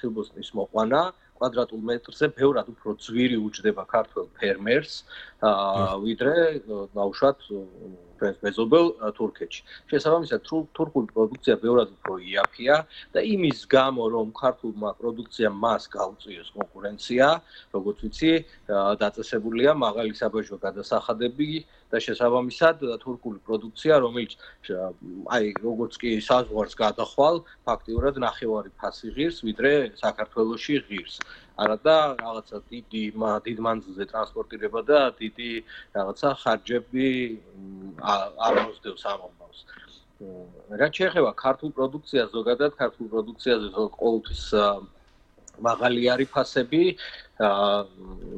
ხილბოსტნის მოყვანა კვადრატულ მეტრზე ბევრად უფრო ძვირი უჯდება ქართველ ფერმერს, ვიდრე ნაუშვად ჩვენს მეზობელ თურქეთში. შესაბამისად, თურქული პროდუქცია ბევრად უფრო იაფია და იმის გამო, რომ ქართულმა პროდუქციამ მას გაუწიოს კონკურენცია, როგორც ვიცი, დაწესებულია მაღალი საბაჟო გადასახადები და შესაბამისად თურქული პროდუქცია, რომელიც როგორც კი საზღვარს გადახვალ, ფაქტიურად ნახევარი ფასი ღირს, ვიდრე საქართველოში ღირს. არადა რაღაცა დიდ მანძილზე ტრანსპორტირება და დიდი რაღაცა ხარჯები არ მოსდევს ამ ამბავს. რაც შეეხება ქართულ პროდუქციას, ზოგადად ქართულ პროდუქციაზე ყოველთვის მაღალი არის ფასები,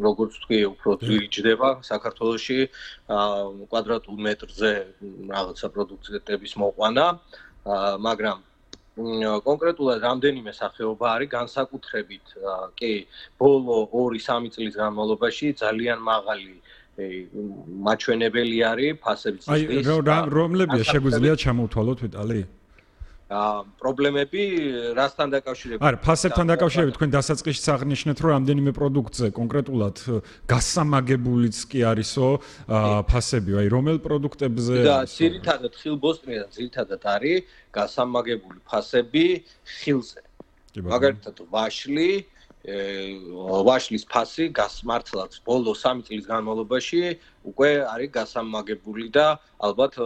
როგორც თქვი, უფრო ძვირი ჯდება საქართველოში კვადრატულ მეტრზე რაღაცა პროდუქტების მოყვანა, მაგრამ კონკრეტულად რამდენიმე სახეობა არის განსაკუთრებით კი ბოლო 2-3 წლის განმავლობაში ძალიან მაღალი მაჩვენებელი არის ფასების ზრდის. რომლებია შეგვიძლია ჩამოვთვალოთ ვიტალი? პრობლემები რასთან დაკავშირებით? არა, ფასებთან დაკავშირებით თქვენ დასაწყისში აღნიშნეთ, რომ რამდენიმე პროდუქტზე კონკრეტულად გასამაგებულიც კი არისო ფასები, აი რომელ პროდუქტებზე? და ძირითადად ხილბოსტნიდან ძირითადად არის გასამაგებული ფასები ხილზე. მაგალითად ვაშლის ფასი გასმართლაც ბოლო 3 წლის განმავლობაში უკვე არის გასამაგებული და ალბათ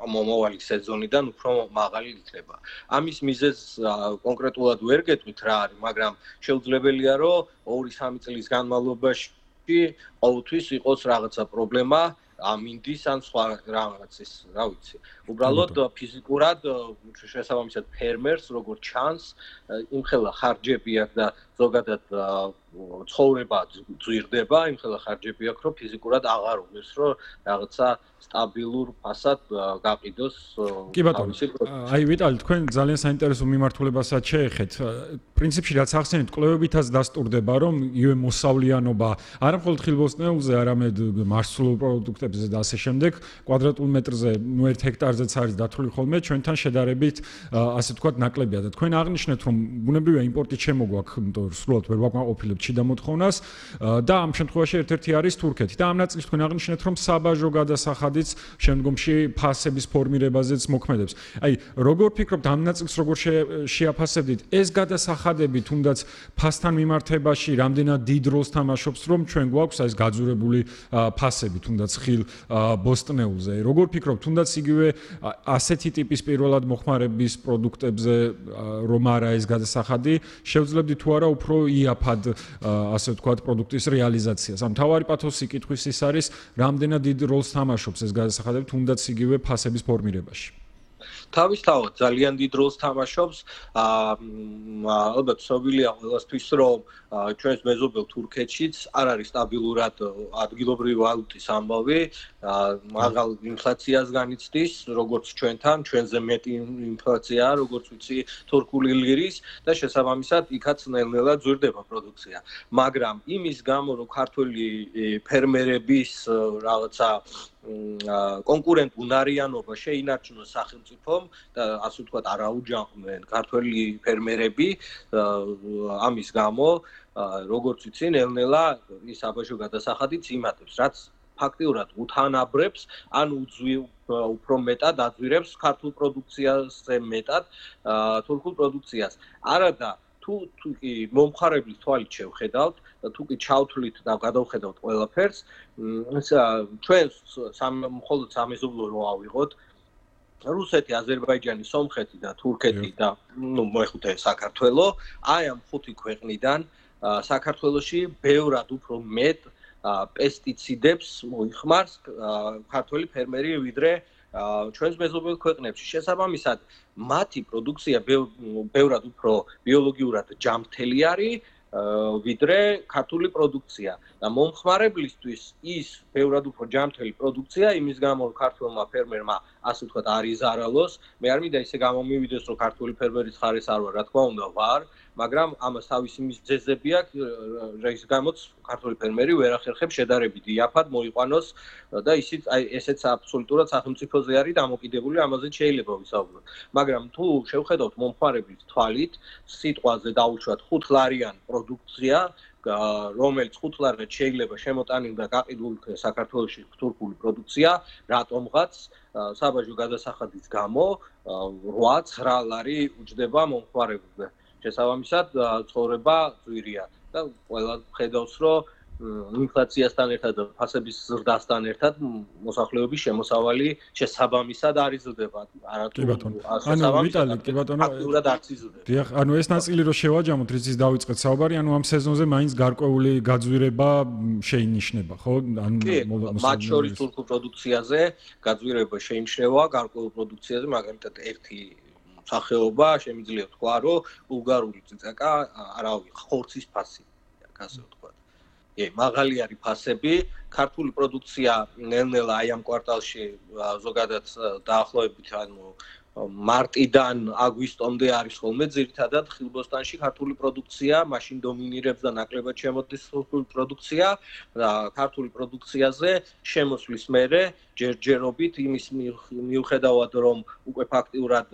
მომავალი სეზონიდან უფრო მაღალი იქნება. ამის მიზეზს კონკრეტულად ვერ გეტყვით რა არის, მაგრამ შეუძლებელია რომ 2-3 წლის განმავლობაში ყოველთვის იყოს რაღაცა პრობლემა ამინდის ან სხვა რაღაცის, რა ვიცი. უბრალოდ ფიზიკურად შესაბამისად ფერმერს როგორც ჩანს, იმხელა ხარჯები აქვს და ზოგადად ცხოვრება ძვირდება, იმხელა ხარჯები აქვს, რომ ფიზიკურად აღარ უღირს, რომ რაღაცა სტაბილურ ფასად გაყიდოს. კი ბატონო, აი ვიტალი, თქვენ ძალიან საინტერესო მიმართულებასაც შეეხეთ. პრინციპში რაც ახსენეთ, კვლევებითაც დასტურდება, რომ იგივე მოსავლიანობა არა მხოლოდ ხილბოსტნეულზე, არამედ მარცვლეულ პროდუქტებზე და ასე შემდეგ, კვადრატულ მეტრზე, 1 ჰექტარზეც არის დათვლილი ხოლმე, ჩვენთან შედარებით, ასე ვთქვათ, ნაკლებია და თქვენ აღნიშნეთ, რომ ბუნებრივია იმპორტით შემოგვაქვს, იმიტომ რომ სრულად ვერ ვაკმაყოფილებთ შიდა მოთხოვნას და ამ შემთხვევაში ერთ-ერთი არის თურქეთი. და ამ ნაწილში თქვენ აღნიშნეთ, რომ საბაჟო გადასახადიც შემდგომში ფასების ფორმირებაზეც მოქმედებს. აი, როგორ ფიქრობთ ამ ნაწილს როგორ შეაფასებდით? ეს გადასახადები თუნდაც ფასთან მიმართებაში რამდენად დიდ როლს თამაშობს, რომ ჩვენ გვაქვს ეს გაძურებული ფასები თუნდაც ხილ ბოსტნეულზე. როგორ ფიქრობთ, თუნდაც იგივე ასეთი ტიპის პირველად მოხმარების პროდუქტებზე რომ არა ეს გადასახადი, შევძლებდით თუ არა უფრო იაფად ასე ვთქვათ პროდუქტის რეალიზაციას. ამ თავარი პათოსი კითხვის ის არის, რამდენად დიდ როლს თამაშობს ეს გადასახადები თუნდაც იგივე ფასების ფორმირებაში. თავისთავად ძალიან დიდ როლს თამაშობს. ალბათ ცნობილია ყველასთვის, რომ ჩვენს მეზობელ თურქეთშიც არ არის სტაბილურად ადგილობრივი ვალუტის ამბავი, მაღალ ინფლაციას განიცდის, როგორც ჩვენთან, ჩვენზე მეტი ინფლაციაა, როგორც ვიცი, თურქული ლირის და შესაბამისად იქაც ნელ-ნელა ძვირდება პროდუქცია. მაგრამ იმის გამო, რომ ქართველი ფერმერების რაღაცა კონკურენტ უნარიანობა შეინარჩუნოს სახელმწიფომ და ასე ვთქვათ არაუჯანყდნენ ქართველი ფერმერები ამის გამო როგორც ვიცი ნელ-ნელა ის საბაჟო გადასახადიც იმატებს რაც ფაქტიურად უთანაბრებს ან უფრო მეტად აძვირებს ქართულ პროდუქციაზე მეტად თურქულ პროდუქციას არადა თუ მომხარებლის თვალით შევხედავთ და თუ კი ჩავთვლით და გადავხედავთ ყველაფერს ჩვენ მხოლოდ სამეზობლო რო ავიღოთ რუსეთი, აზერბაიჯანი, სომხეთი და თურქეთი და მოეხუთე საქართველო აი ამ 5 ქვეყნიდან საქართველოში ბევრად უფრო მეტ პესტიციდებს მოიხმარს ქართველი ფერმერი ვიდრე ჩვენს მეზობელ ქვეყნებში. შესაბამისად, მათი პროდუქცია ბევრად უფრო ბიოლოგიურად ჯანმრთელი არის ვიდრე ქართული პროდუქცია და მომხმარებლისთვის ის ბევრად უფრო ჯანმრთელი პროდუქცია იმის გამო რომ ქართველმა ფერმერმა ასე ვთქვათ არ იზარალოს მე არ მინდა ისე გამომივიდეს რომ ქართული ფერმერის ხარეს არ ვარ რა თქმა უნდა ვარ მაგრამ ამას თავისი მიზეზები აქვს, რის გამოც ქართული ფერმერი ვერ ახერხებს შედარებით იაფად მოიყვანოს და ისიც ესეც აბსოლუტურად სახელმწიფოზე არის დამოკიდებული, ამაზე შეიძლება ვისაუბროთ. მაგრამ თუ შევხედავთ მომხმარებლის თვალით, სიტყვაზე დაუშვათ 5 ლარიან პროდუქცია, რომელიც 5 ლარად შეიძლება შემოტანილ და გაყიდულ საქართველოში თურქული პროდუქცია, რატომღაც საბაჟო გადასახადის გამო 8-9 ლარი უჯდება მომხმარებელზე. შესაბამისად, ცხოვრება ძვირია და ყველა ხედავს, რომ ინფლაციასთან ერთად და ფასების ზრდასთან ერთად მოსახლეობის შემოსავალი შესაბამისად არ იზრდება. კი ბატონო. ანუ ვიტალი, კი ბატონო, ფაქტურად არც იზრდება. დიახ, ანუ ეს ნაწილი რო შევაჯამოთ, რითიც დავიწყეთ საუბარი, ანუ ამ სეზონზე მაინც გარკვეული გაძვირება შეინიშნება, ხო? ანუ მათ შორის თურქულ პროდუქციაზე გაძვირება შეინიშნება, გარკვეულ პროდუქციაზე, მაგალითად ერთი სახეობა შემიძლია თქვა, რომ ბულგარული წიწაკა, არავი, ხორცის ფასი, ასე ვთქვა. მაღალი არის ფასები, ქართული პროდუქცია ნელ-ნელა აი ამ კვარტალში ზოგადად დაახლოებით ანუ მარტიდან აგვისტომდე არის ხოლმე ძირითადად ხილბოსტანში ქართული პროდუქცია, მაშინ დომინირებს და ნაკლებად შემოდის თურქული პროდუქცია და ქართული პროდუქციაზე შემოსვლის მერე ჯერჯერობით იმის მიუხედავად რომ უკვე ფაქტიურად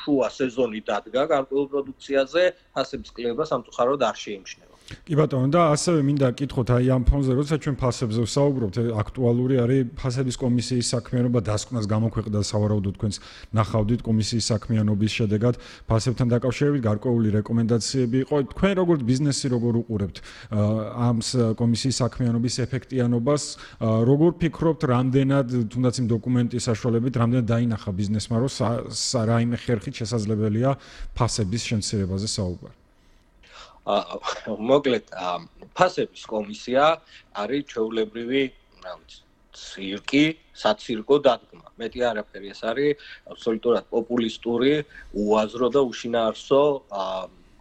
შუა სეზონი დადგა გარკვეულ პროდუქციაზე, ფასების კლება სამწუხაროდ არ შეიმჩნევა. კი ბატონო და ასევე მინდა გკითხოთ აი ამ ფონზე როცა ჩვენ ფასებზე ვსაუბრობთ აქტუალური არის ფასების კომისიის საქმიანობა დასკვნას გამოქვეყნდა სავარაუდოდ თქვენს ნახავდით კომისიის საქმიანობის შედეგად ფასებთან დაკავშირებით გარკვეული რეკომენდაციები იყო თქვენ როგორც ბიზნესი როგორ უყურებთ ამ კომისიის საქმიანობის ეფექტიანობას როგორ ფიქრობთ რამდენად თუნდაც იმ დოკუმენტის საშუალებით რამდენად დაინახა ბიზნესმა რომ რაიმე ხერხით შესაძლებელია ფასების შემცირებაზე საუბარი მოკლედ ფასების კომისია არის ჩვეულებრივი ცირკი, საცირკო დადგმა. მეტი არაფერი ეს არის აბსოლუტურად პოპულისტური, უაზრო და უშინაარსო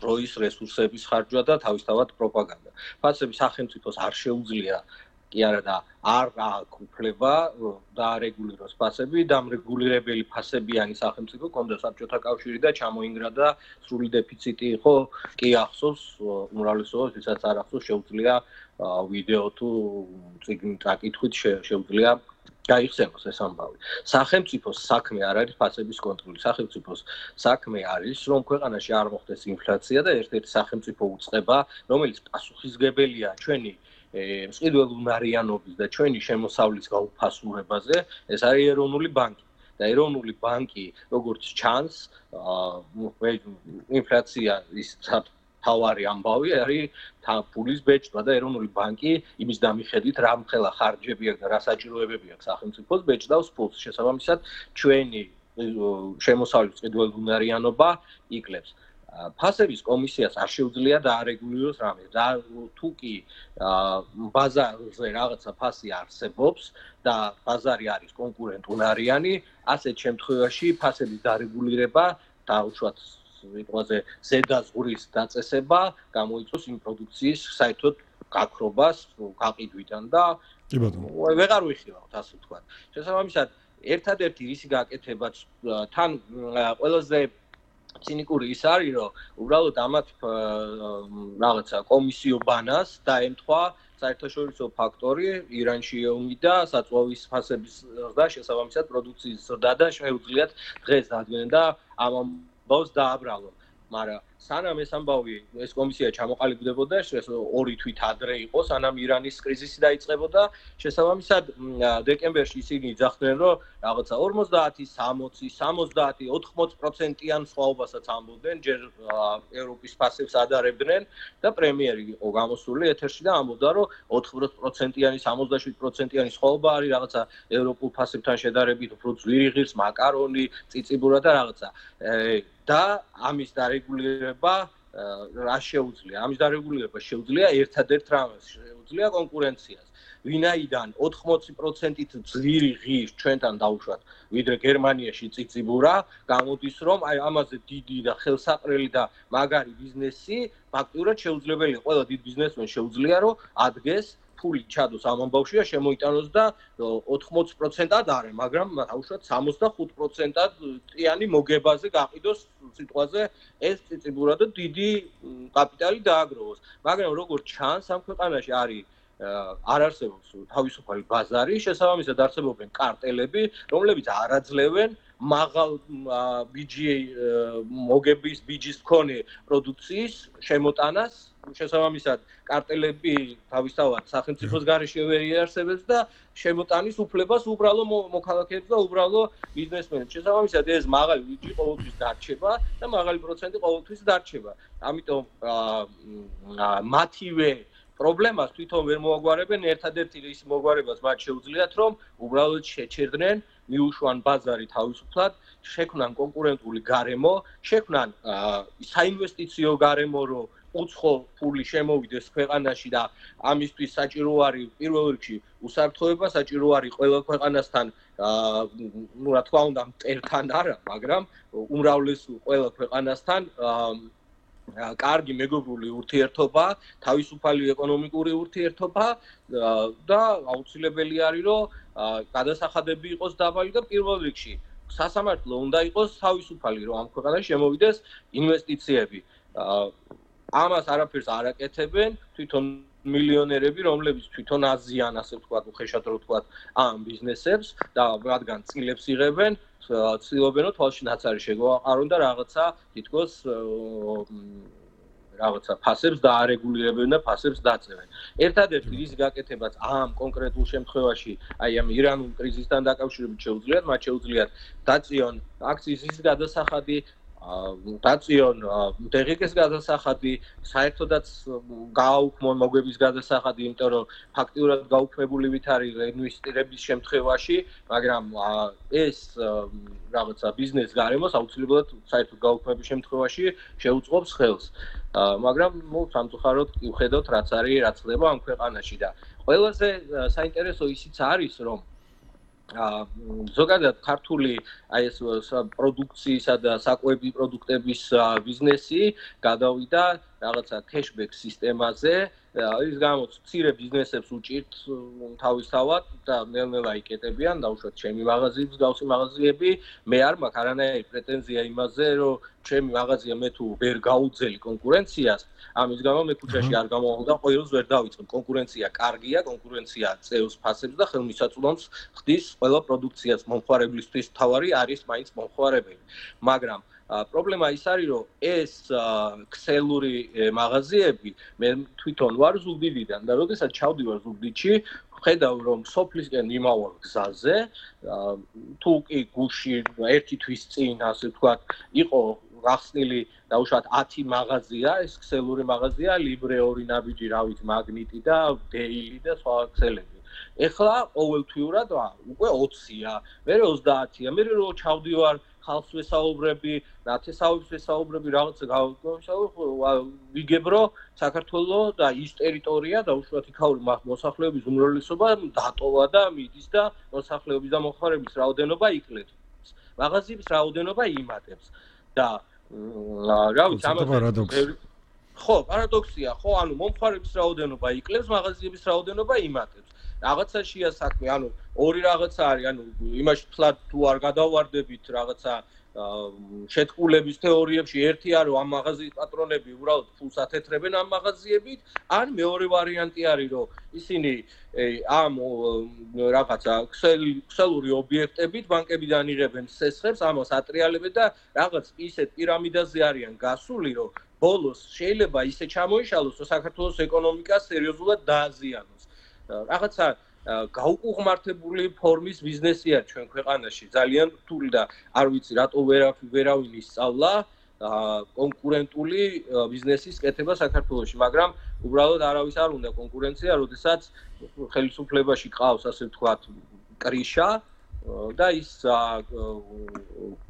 დროის რესურსების ხარჯვა და თავისთავად პროპაგანდა. ფასები სახელმწიფოს არ შეუძლია კი არა და არ აქვს უფლება დაარეგულიროს ფასები, დამრეგულირებელი ფასებიანი სახელმწიფო ქონდა საბჭოთა კავშირი და ჩამოინგრა და სრული დეფიციტი იყო, კი ახსოვს, უმრავლესობას ვისაც არ ახსოვს, შეუძლია ვიდეო თუ წიგნი წაკითხვით შეუძლია გაიხსენოს ეს ამბავი. სახელმწიფოს საქმე არ არის ფასების კონტროლი. სახელმწიფოს საქმე არის, რომ ქვეყანაში არ მოხდეს ინფლაცია და ერთ-ერთი სახელმწიფო უწყება, რომელიც პასუხისგებელია ჩვენი მსყიდველუნარიანობის და ჩვენი შემოსავლის გაუფასურებაზე, ეს არის ეროვნული ბანკი. და ეროვნული ბანკი, როგორც ჩანს, ინფლაცია ის თავარი ამბავი არის ფულის ბეჭდვა და ეროვნული ბანკი იმის დამიხედვით რა მხელა ხარჯები აქვს და რა საჭიროებები აქვს სახელმწიფოს ბეჭდავს ფულს. შესაბამისად, ჩვენი შემოსავლის მსყიდველუნარიანობა იკლებს. ფასების კომისიას არ შეუძლია დაარეგულიროს რამე და თუ კი ბაზარზე რაღაცა ფასი არსებობს და ბაზარი არის კონკურენტუნარიანი, ასეთ შემთხვევაში ფასების დარეგულირება და უშუალოდ სიტყვაზე ზედაზღვრის დაწესება გამოიწვევს იმ პროდუქციის საერთოდ გაქრობას გაყიდვიდან და ვეღარ ვიხილავთ ასე ვთქვათ. შესაბამისად, ერთადერთი რისი გაკეთებაც თან ყველაზე ცინიკური ის არის, რომ უბრალოდ ამათ რაღაცა კომისიო ბანას დაემთხვა საერთაშორისო ფაქტორი, ირანში ომი და საწვავის ფასების და შესაბამისად პროდუქციის ზრდა და შეუძლიათ დღეს დადგენენ და ამ ამბავს დააბრალონ. მაგრამ სანამ ეს ამბავი ეს კომისია ჩამოყალიბდებოდა, ეს 2 თვით ადრე იყო, სანამ ირანის კრიზისი დაიწყებოდა, შესაბამისად დეკემბერში ისინი ძახდნენ, რომ რაღაცა 50, 60, 70, 80%-იან სხვაობასაც ამბობდნენ, ჯერ ევროპის ფასებს ადარებდნენ და პრემიერი იყო გამოსული ეთერში და ამბობდა, რომ 80%-იანი, 77%-იანი სხვაობა არის რაღაცა ევროპულ ფასებთან შედარებით უფრო ძვირი ღირს, მაკარონი, წიწიბურა და რაღაცა. და ამის დარეგულირება რა შეუძლია? ამის დარეგულირება შეუძლია ერთადერთ რამეს, შეუძლია კონკურენციას. ვინაიდან 80%-ით ძვირი ღირს ჩვენთან დაუშვათ, ვიდრე გერმანიაში წიწიბურა, გამოდის რომ აი ამაზე დიდი და ხელსაყრელი და მაგარი ბიზნესი ფაქტურად შეუძლებელია. ყველა დიდ ბიზნესმენს შეუძლია რომ ადგეს ფული ჩადოს ამ ამბავში და შემოიტანოს და 80%-ად არა, მაგრამ უშუალოდ 65%-ად ტიანი მოგებაზე გაყიდოს სიტყვაზე ეს ციციბურად და დიდი კაპიტალი დააგროვოს. მაგრამ როგორც ჩანს, ამ ქვეყანაში არის არ არსებობს თავისუფალი ბაზარი, შესაბამისად არსებობენ კარტელები, რომლებიც არ აძლევენ მაღალ მოგების ბიჯის მქონე პროდუქციის შემოტანას, შესაბამისად კარტელები თავისთავად სახელმწიფოს გარეშე ვერ იარსებებს და შემოტანის უფლებას უბრალო მოქალაქეებს და უბრალო ბიზნესმენებს. შესაბამისად ეს მაღალი ბიჯი ყოველთვის დარჩება და მაღალი პროცენტი ყოველთვის დარჩება. ამიტომ მათივე პრობლემას თვითონ ვერ მოაგვარებენ, ერთადერთი ის მოგვარებას მათ შეუძლიათ, რომ უბრალოდ შეჩერდნენ მიუშვან ბაზარი თავისუფლად, შექმნან კონკურენტული გარემო, შექმნან საინვესტიციო გარემო, რომ უცხო ფული შემოვიდეს ქვეყანაში და ამისთვის საჭირო არის პირველ რიგში უსაფრთხოება, საჭირო არის ყველა ქვეყანასთან, რა თქმა უნდა, მტერთან არა, მაგრამ უმრავლესულ ყველა ქვეყანასთან კარგი მეგობრული ურთიერთობა, თავისუფალი ეკონომიკური ურთიერთობა და აუცილებელი არის, რომ გადასახადები იყოს დაბალი და პირველ რიგში სასამართლო უნდა იყოს თავისუფალი, რომ ამ ქვეყანაში შემოვიდეს ინვესტიციები. ამას არაფერს არ აკეთებენ თვითონ მილიონერები, რომლებიც თვითონ აზიან, ასე ვთქვათ, უხეშად რო ვთქვათ, ამ ბიზნესებს და რადგან წილებს იღებენ, ცდილობენ რომ თვალში ნაცარი შეგვაყარონ და რაღაცა თითქოს რაღაცა ფასებს დაარეგულირებენ და ფასებს დაწევენ. ერთადერთი რის გაკეთებაც ამ კონკრეტულ შემთხვევაში, აი ამ ირანულ კრიზისთან დაკავშირებით შეუძლიათ, მათ შეუძლიათ დაწიონ აქციის გადასახადი, დაწიონ დღგ-ის გადასახადი, საერთოდაც გააუქმონ მოგების გადასახადი, იმიტომ რომ ფაქტიურად გაუქმებული ვით არის ინვესტირების შემთხვევაში, მაგრამ ეს რაღაცა ბიზნეს გარემოს აუცილებლად საერთოდ გაუქმების შემთხვევაში შეუწყობს ხელს. მაგრამ სამწუხაროდ ვხედავთ რაც არის, რაც ხდება ამ ქვეყანაში და ყველაზე საინტერესო ისიც არის, რომ ზოგადად ქართული აი ეს პროდუქციისა და საკვები პროდუქტების ბიზნესი გადავიდა რაღაცა cashback სისტემაზე, ის გამოც მცირე ბიზნესებს უჭირთ თავისთავად და ნელ-ნელა იკეტებიან, დაუშვათ ჩემი მაღაზიების გავსი მაღაზიები, მე არ მაქვს არანაირი პრეტენზია იმაზე, რომ ჩემი მაღაზია მე თუ ვერ გაუძელი კონკურენციას, ამის გამო მე ქუჩაში არ გამოვავალ და ყოველს ვერ დავიწყებ. კონკურენცია კარგია, კონკურენცია წევს ფასებს და ხელმისაწვდომს ხდის ყველა პროდუქციას მომხმარებლისთვის თავარი არის მაინც მომხმარებელი. მაგრამ პრობლემა ის არის, რომ ეს ქსელური მაღაზიები მე თვითონ ვარ ზუგდიდიდან და როდესაც ჩავდივარ ზუგდიდში, ხედავ რომ სოფლისკენ იმავალ გზაზე, თუ კი გუში ერთი თვის წინ, ასე ვთქვათ, იყო გახსნილი დაუშვათ 10 მაღაზია, ეს ქსელური მაღაზია, ლიბრე 2 ნაბიჯი, რავით, მაგნიტი და დეილი და სხვა ქსელები. ეხლა ყოველთვიურად უკვე 20-ია, მე 30-ია, მე რო ჩავდივარ ხალხს ვესაუბრები, ნათესავებს ვესაუბრები, რაღაცა ვიგებ რომ საქართველოს და ის ტერიტორია დაუშვათ იქაური მოსახლეობის უმრავლესობა დატოვა და მიდის და მოსახლეობის და მომხმარების რაოდენობა იკლებს. მაღაზიების რაოდენობა იმატებს და რავით, ამაზე ხო, პარადოქსია, ხო, ანუ მომხმარების რაოდენობა იკლებს, მაღაზიების რაოდენობა იმატებს. რაღაცაშია საქმე, ანუ ორი რაღაცა არის, ანუ იმაში თლად თუ არ გადავარდებით რაღაცა შეთქმულების თეორიებში, ერთი არის რომ ამ მაღაზიის პატრონები უბრალოდ ფულს ათეთრებენ ამ მაღაზიებით, ან მეორე ვარიანტი არის რომ ისინი ამ რაღაცა ქსელური ობიექტებით ბანკებიდან იღებენ სესხებს, ამას ატრიალებენ და რაღაც ისეთ პირამიდაზე არიან გასული, რომ ბოლოს შეიძლება ისე ჩამოიშალოს, რომ საქართველოს ეკონომიკა სერიოზულად დააზიანოს. რაღაცა გაუკუღმართებული ფორმის ბიზნესია ჩვენ ქვეყანაში, ძალიან რთული და არ ვიცი რატო ვერავინ ისწავლა კონკურენტული ბიზნესის კეთება საქართველოში, მაგრამ უბრალოდ არავის არ უნდა კონკურენცია, როდესაც ხელისუფლებაში ყავს, ასე ვთქვათ, კრიშა და ის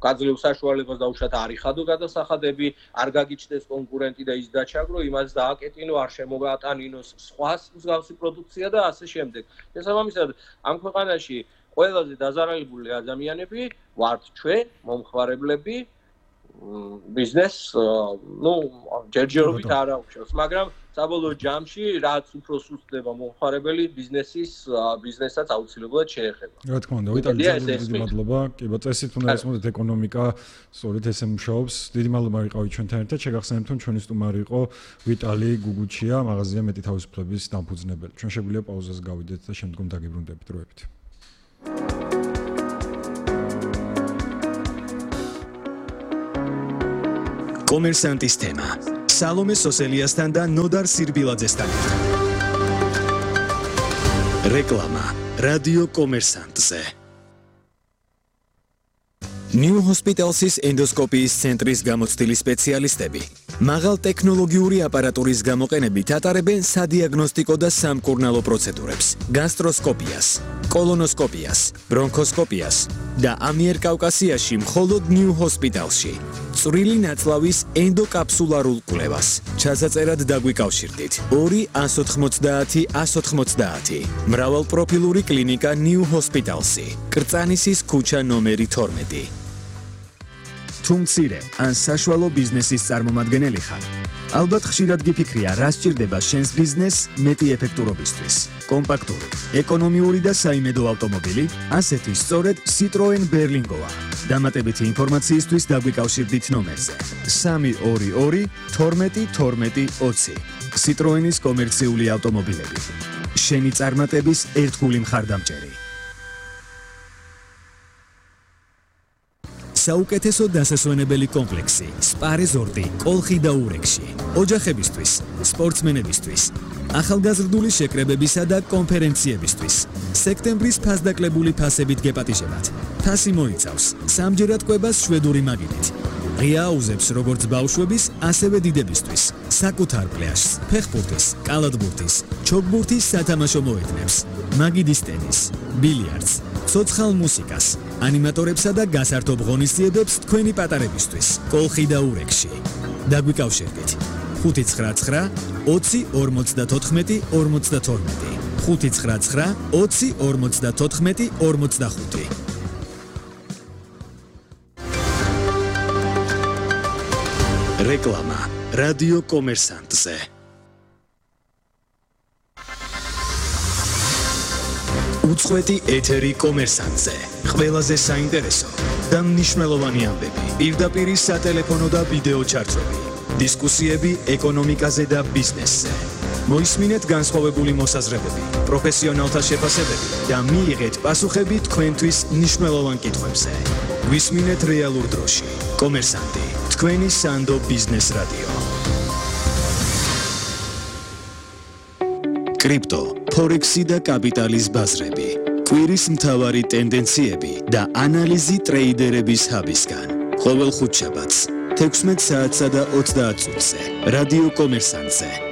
გაძლევს საშუალებას დაუშვათ არ იხადო გადასახადები, არ გაგიჩნდეს კონკურენტი და ის დაჩაგრო, იმას დააკეტინო, არ შემოატანინოს სხვას მსგავსი პროდუქცია და ასე შემდეგ. შესაბამისად, ამ ქვეყანაში ყველაზე დაზარალებული ადამიანები ვართ ჩვენ, მომხმარებლები ბიზნესს, ჯერჯერობით არ აუჩევს, მაგრამ საბოლოო ჯამში რაც უფრო სუსტდება მომხმარებელი ბიზნესაც აუცილებლად შეეხება. რა თქმა უნდა, ვიტალი, დიდი მადლობა. კი, წესით უნდა ესმოდეთ ეკონომიკა, სწორედ ესე მუშაობს. დიდი მადლობა ვიყავით ჩვენთან ერთად. შეგახსენებთ, რომ ჩვენი სტუმარი იყო ვიტალი გუგუჩია, მაღაზია მეტი თავისუფლების დამფუძნებელი. ჩვენ შეგვიძლია პაუზას გავიდეთ და შემდგომ დაგიბრუნდებით დროებით. კომერსანტის თემა. სალომე სოსელიასთან და ნოდარ სირბილაძესთან ერთად. რეკლამა რადიო კომერსანტზე. New Hospitals's ენდოსკოპიის ცენტრის გამოცდილი სპეციალისტები მაღალ ტექნოლოგიური აპარატურის გამოყენებით ატარებენ სადიაგნოსტიკო და სამკურნალო პროცედურებს: გასტროსკოპიას, კოლონოსკოპიას, ბრონქოსკოპიას და ამიერკავკასიაში მხოლოდ New Hospitalsში. წვრილი ნაწლავის ენდოკაფსულარულ კვლევას. ჩასაწერად დაგვიკავშირდით 2-190-190. მრავალპროფილური კლინიკა New Hospitalsი. კრწანისის ქუჩა ნომერი 12. თუ მცირე ან საშუალო ბიზნესის წარმომადგენელი ხარ, ალბათ ხშირად გიფიქრია, რა სჭირდება შენს ბიზნესს მეტი ეფექტურობისთვის. კომპაქტური, ეკონომიური და საიმედო ავტომობილი, ასეთი სწორედ Citroen Berlingoა. დამატებითი ინფორმაციისთვის დაგვიკავშირდით ნომერზე 322 12 12 20. Citroenis კომერციული ავტომობილები. შენი წარმატების ერთგული მხარდამჭერი. საუკეთესო დასასვენებელი კომპლექსი სპა რეზორტი კოლხი და ურეკში. ოჯახებისთვის, სპორტსმენებისთვის, ახალგაზრდული შეკრებებისა და კონფერენციებისთვის. სექტემბრის ფასდაკლებული ფასებით გეპატიჟებათ. ფასი მოიცავს სამჯერად კვებას შვედური მაგიდით. ღია აუზებს როგორც ბავშვების, ასევე დიდებისთვის. საკუთარ პლაჟს, ფეხბურთის, კალათბურთის, ჩოგბურთის სათამაშო მოედნებს, მაგიდის ტენის, ბილიარდს, ცოცხალ მუსიკას, ანიმატორებსა და გასართობ ღონისძიებებს თქვენი პატარებისთვის. კოლხი და ურეკში. დაგვიკავშირდით 599 20 54 52 599 20 54 45. რეკლამა რადიო კომერსანტზე. უწყვეტი ეთერი კომერსანტზე. ყველაზე საინტერესო და მნიშვნელოვანი ამბები. პირდაპირ სატელეფონო და ვიდეო ჩარტები. დისკუსიები ეკონომიკაზე და ბიზნესზე. მოისმინეთ განსხვავებული მოსაზრებები, პროფესიონალთა შეფასებები და მიიღეთ პასუხები თქვენთვის მნიშვნელოვან კითხვებზე. გვისმინეთ რეალურ დროში. კომერსანტი, თქვენი სანდო ბიზნეს რადიო. კრიპტო, ფორექსი და კაპიტალის ბაზრები. კვირის მთავარი ტენდენციები და ანალიზი ტრეიდერების ჰაბისგან. ყოველ ხუთშაბათს 16 საათსა და 30 წუთზე. რადიო კომერსანტზე.